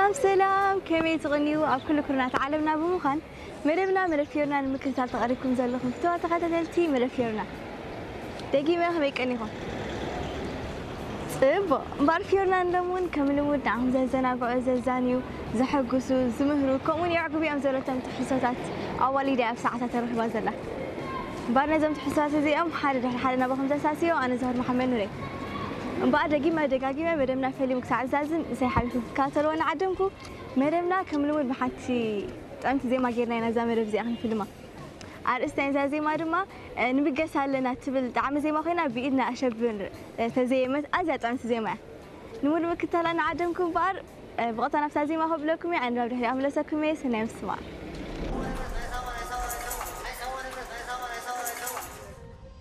ሰላም ሰላም፣ ከመይ ትቕንዩ? ኣብ ኩሉ ኩርናት ዓለምና ብምዃን መደብና መደብ ፊዮርና ንምክትታል ተቐሪብኩም ዘለኹም ፍትዋ ተኸታተልቲ መደብ ፊዮርና፣ ደጊመ ከመይ ቀኒኹም? ጽቡቕ። እምበኣር ፊዮርና ንሎሚ እውን ከም ልሙድ ንዓኹም ዘዘናግዑ፣ ዘዛንዩ፣ ዘሐጉሱ፣ ዝምህሩ፣ ከምኡውን የዕግቡ እዮም ዘለቶም ትሕዝቶታት ኣዋሊዳ ኣብ ሰዓታ ተረኺባ ዘላ። እምበኣር ነዞም ትሕዝቶታት እዚኦም ሓደ ድሕሪ ሓደ ናባኹም ዘሳስዮ ኣነ ዛህር መሓመድ ኑሬ። እምበኣር ደጊመ ደጋጊመ መደብና ፈልዮም ክሳዕ ዝዛዝም ምሳይ ሓቢርኩም ክትከታተልዎ እናዓደምኩ፣ መደብና ከም ልሙድ ብሓንቲ ጥዕምቲ ዜማ ጌርና ኢና እዛ መደብ እዚኣ ክንፍልማ። ኣርእስቲ ናይዛ ዜማ ድማ፣ እ፣ ንብገስ ኣለና ትብል ጣዕሚ ዜማ ኮይና ብኢድና ኣሸብር፣ እ፣ ተዘየመት ኣዝያ ጥዕምቲ ዜማ እያ። ንሙሉ ምክታላ እናዓደምኩ እምበኣር፣ እ፣ ብቐጥታ ናብታ ዜማ ከብለኩም እየ፣ ኣነ ናብ ድሕሪኣ ክምለሰኩም እየ። ሰናይ ምስማዕ።